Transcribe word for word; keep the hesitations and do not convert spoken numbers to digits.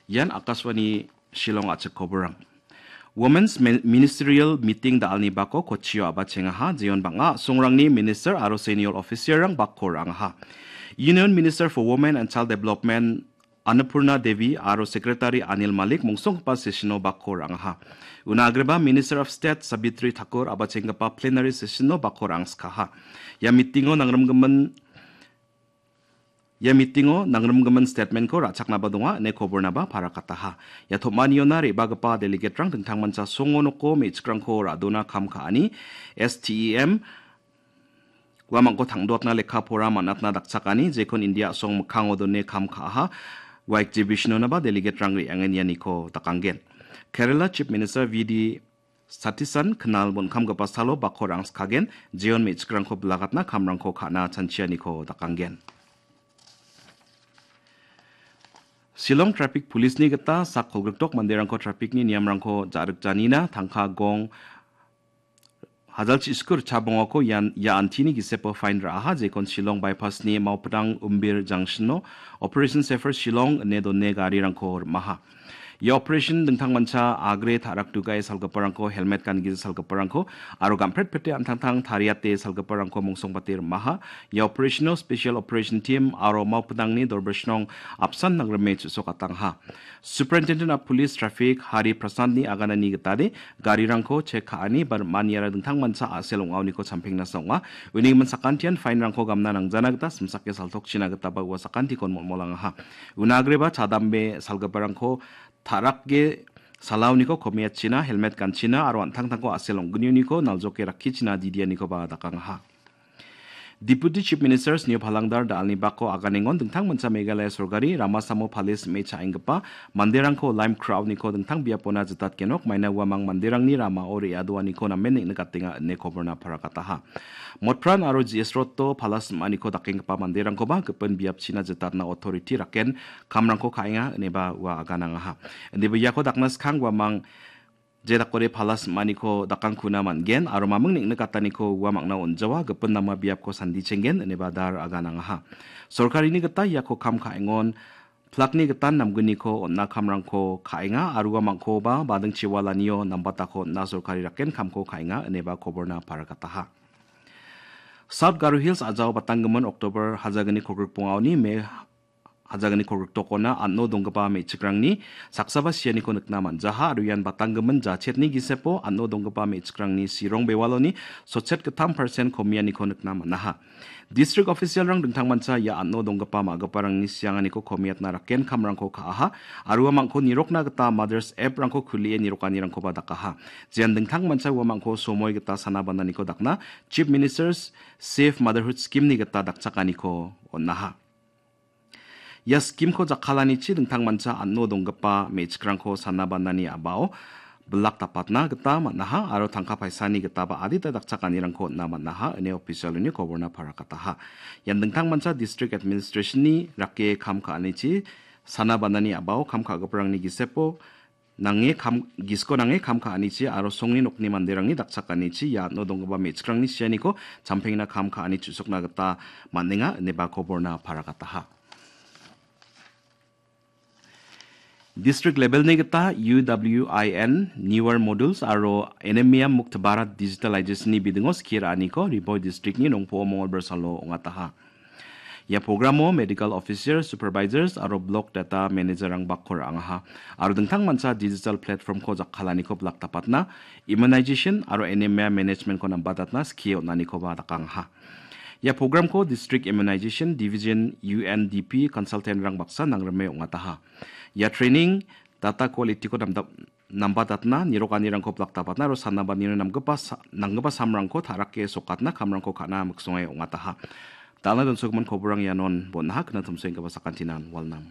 Ian Akashvani Shillong a·chik koborang. Women's Min-, Ministerial Meeting da·alni bako Kochio a·bachengaha, jeon bang·a a·songrangni minister aro senior officer-rang bako ra·angaha. Union Minister for Women and Child Development Annapurna Devi aro Secretary Anil Malik mongsonggipa session-o bako ra·angaha. Una agreba Minister of State Sabitri Thakur a·bachenggipa plenary session-o bako ra·angskaha. Ia meeting-o nangrimgimin Ia meeting-o nangrimgimin statement-ko ra·chaknaba donga ine kobornaba parakataha. Ia tom·aniona re·bagipa delegate-rang dingtangmancha songo noko me·chikrangko ra·dona kam ka·ani S T E M uamangko tangdoatna lekka pora man·atna dakchakani jekon India a·song mikkango done kam ka·aha ua exhibition-onaba delegate-rang re·angen ianiko dakanggen. Kerala Chief Minister V D Satisan knal bon·kamgipa salo bako ra·angskagen, jeon me·chikrangko bilagatna kamrangko ka·na chanchianiko dakanggen. Shillong Traffic Police-ni gita sak kolgrikdok manderangko traffic-ni niamrangko ja·rikjanina tangka gong hajalchi skur chabongako ian, ia antini gisepo fine ra·aha, jekon Shillong Bypass-ni Maupdang Umbir Junction-o Operation Safer Shillong ine done garirangko rim·aha. Ia operation dingtangmancha agre ta·rakdugae salgiparangko, helmet gangije salgiparangko aro gampret pete an·tangtang tariate salgiparangko mongsongbate rim·aha. Ia operation-o Special Operation Team aro Maupdangni Dorbishnong apsan nangrime chu·sokatangha. Superintendent of Police Traffic Hari Prasad-ni aganani gitade garirangko chek ka·ani ba rim·aniara dingtangmancha a·sel ong·aoniko champengna song·a. Uni gimin sakantian fine-rangko gamna nangjana gita simsake saltokchina gitaba ua sakantikon molmolangaha. Una agreba chadambe salgiparangko ta·rake salaoniko komiatchina, helmet ganchina aro an·tangtangko a·sel ong·gnioniko naljoke rakkichina didianikoba dakangaha. Deputy Chief Minister Sneo Phalangdar da·alni bako aganengon dingtangmancha Meghalaya sorkari rama samo pale sim·e cha·enggipa manderangko lime crowd-niko dingtang biapona jitatgenok maina uamang manderangni ramao re·adoaniko namen neng·nikatenga ine koborna parakataha. Motpran aro G S Road-o pala sim·aniko dakenggipa manderangkoba gipin biapchina jitatna authority raken kamrangko ka·enga ineba ua aganangaha. Indiba iako dakna skang uamang je dakode pala sim·aniko dakangkuna man·gen aro maming neng·nikataniko uamangna on·jawa gipin nama biapko sandichenggen ineba dar aganangaha. Sorkarini gita iako kam ka·engon plakni gitan namgniko on·na kamrangko ka·enga aro uamangkoba badingchi walanio nambatako on·na sorkari raken kamko ka·enga ineba koborna parakataha. South Garo Hills a·jao batanggimin October hajagni kolgrikbongaoni Me hajagni kolgriktokona an·o donggipa me·chikrangni saksaba sianiko nikna man·jaha aro ian batanggimin jachetni gisepo an·o donggipa me·chikrangni sirong bewaloni sotchet gittam persen komianiko nikna man·aha. District official-rang dingtangmancha ia an·o donggipa ma·giparangni sianganiko komiatna raken kamrangko ka·aha aro uamangko nirokna gita Mothers App-rangko kulie nirokanirangkoba dakaha. Jean dingtangmancha uamangko somoi gita sana bananiko dakna Chief Minister's Safe Motherhood Scheme-ni gita dakchakaniko on·aha. Ia scheme-ko jakkalanichi dingtangmancha an·o donggipa me·chikrangko sana banani a·bao bilak dapatna gita man·aha aro tangka paisani gitaba adita dakchakanirangko on·na man·aha ine official-oni koborna parakataha. Ian dingtangmancha District Administration-ni rake kam ka·anichi sana banani a·bao kam ka·giparangni gisepo nange kam, gisiko nange kam ka·anichi aro songni nokni manderangni dakchakanichi ia an·o donggipa me·chikrangni sianiko champengna kam ka·ani chu·sokna gita man·enga ineba koborna parakataha. District level-ni gita U W I N, Newer Modules aro Anemia Mukt Bharat Digitalization-ni bidingo skie ra·aniko Ri Bhoi District-ni nongpo·o Mongolbar salo ong·ataha. Ia programo medical officer, supervisors aro block data manager-rang bako ra·angaha aro dingtangmancha digital platform-ko jakkalaniko bilak dapatna, immunization aro anemia management-ko nambatatna skie on·anikoba dakangaha. Ia programko District Immunization Division, U N D P, consultant-rang baksa nangrime ong·ataha. Ia training data quality-ko namdap-, nambatatna, nirokanirangko bilak dapatna aro sanabanino namgipa sa-, nanggipa samrangko ta·rake sokatna kamrangko ka·na miksonge ong·ataha. Dal·na donsogimin koborang ianon bon·aha, kna tomsoenggipa sakantinan walnam.